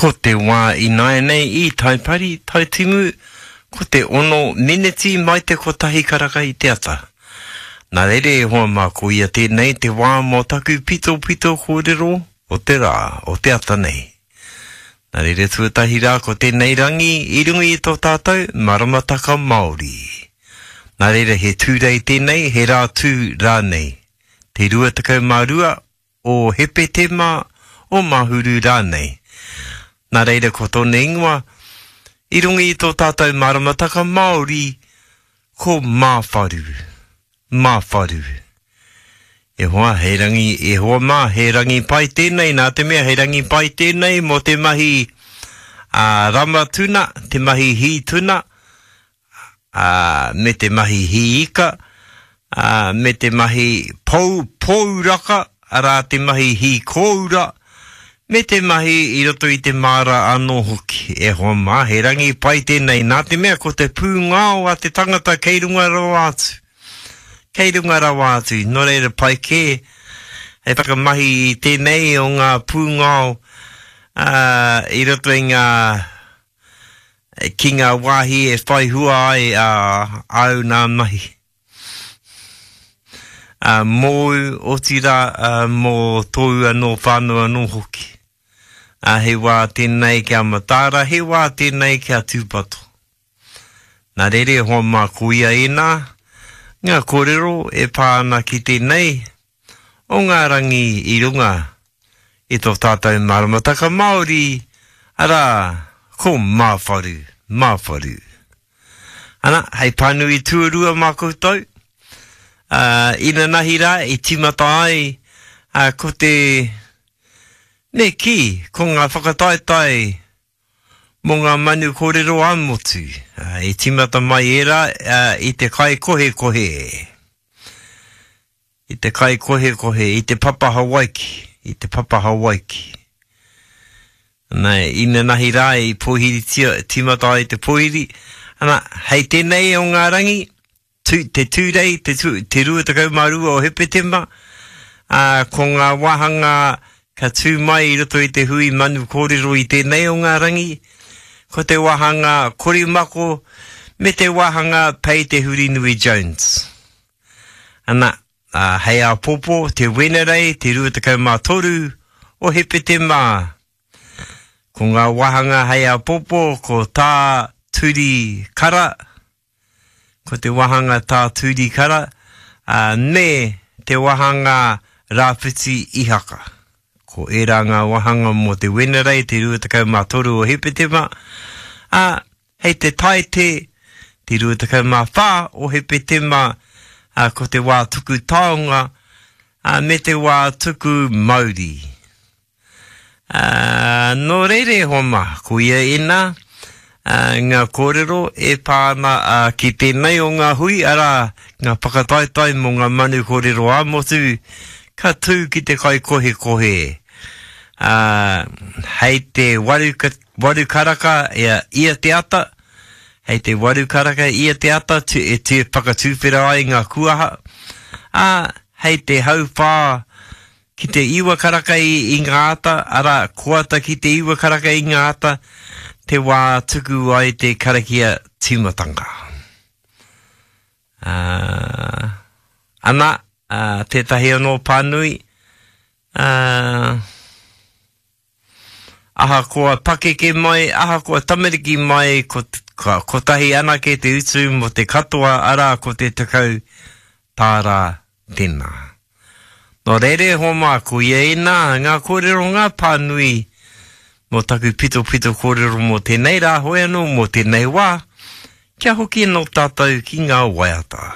Ko te wā ināianei i Taipari, Taitimu, ko te ono meneti mai te kotahi karaka i te ata. Nā reira e hoa mā ko ia tēnei te wā mō taku pitopito kōrero o te rā, o te ata nei. Nā reira tuatahi rā ko tēnei rangi i runga i tō tātou maramataka Māori. Nā reira he Tūrei tēnei, he rā tū rānei. Te 22 o Hepetema, o Mahuru rānei. Nā reira ko tōna ingoa, i runga i tō tātou maramataka Māori, ko Māwharu. Māwharu. E hoa, he rangi, e hoa mā, he rangi pai tēnei, nā te mea he rangi pai tēnei mō te mahi a rama tuna, te mahi hī tuna, ā, me te mahi hī ika, ā, me te mahi pou, pōuraka, arā te mahi hī kōura, me te mahi i roto i te māra anō hoki. E hoa mā, he rangi pai tēnei, nā te mea ko te pūngao a te tangata kei runga rawa atu. Kei runga rawa atu, nō reira pai kē hei whakamahi i tēnei o ngā pūngao, ā, i roto i ngā ki ngā wāhi e whai hua ai ā, āu nā mahi. Ā, mōu, otirā, ā, mō tōu anō whānau anō hoki. Ā, he wā tēnei kia mataara, he wā tēnei kia tūpato. Nā reira e hoa mā ko ia ēnā, ngā kōrero e pā ana ki tēnei o ngā rangi i runga i tō tātou maramataka Māori, arā, ko Māwharu, Māwharu. Ana, hei pānui tuarua mā koutou, ā, inanahi rā i tīmata ai, ā, ko te, me kī, ko ngā whakataetae mō ngā manu kōrero ā-motu. I tīmata mai ērā i te kaikohekohe, i te kaikohekohe, i te papa Hawaiki, i te papa Hawaiki. Ana, inanahi rā i pōhiritia, tīmata ai te pōhiri. Ana, hei tēnei o ngā rangi, Tū, te Tūrei, te, tu, te 22 o Hepetema, ā, ko ngā wāhanga ka tū mai i roto i te hui manu kōrero i tēnei o ngā rangi, ko te wāhanga Korimako me te wāhanga Pei Te Hurinui Jones. Ana, ā, hei āpōpō, te Wenerei, te 23 o Hepetema, ko ngā wāhanga hei āpōpō, ko Tā Turi Kara, Ko te wāhanga Tā Turi Kara, ā, me te wāhanga Rāwhiti Ihaka. Ko ērā ngā wāhanga mō te Wenerei, te 23 o Hepetema, ā, hei te Taite, te 24 o Hepetema, ā, ko te wā tuku taonga, ā, me te wā tuku mauri. Ā, nō reira e hoa mā, ko ia ēnā, ā, ngā kōrero e pā ana, ā, ki tēnei o ngā hui, arā, ngā whakataetae mō ngā manu kōrero ā-motu, ka tū ki te kaikohekohe, ā, hei te waru, waru karaka ia, ia te ata, hei te waru karaka ia te ata tu, e tu, whakatuwhera ai ngā kuaha, ā, hei te hauwhā Ki te iwa karaka i, i ngā ata, arā, koata ki te iwa karaka i ngā ata, te wā tuku ai te karakia tīmatanga. Ā, ana, ā, tētahi anō pānui, ā, ahakoa pakeke mai, ahakoa tamariki mai, ko, ka, kotahi anake te utu mō te katoa, arā, ko te 10 tāra tēnā. Nō reira e hoa mā, ko ia ēnā ngā kōrero ngā pānui mō taku pitopito kōrero mō tēnei rā, hoi anō mō tēnei wā, kia hoki anō tātou ki ngā waiata.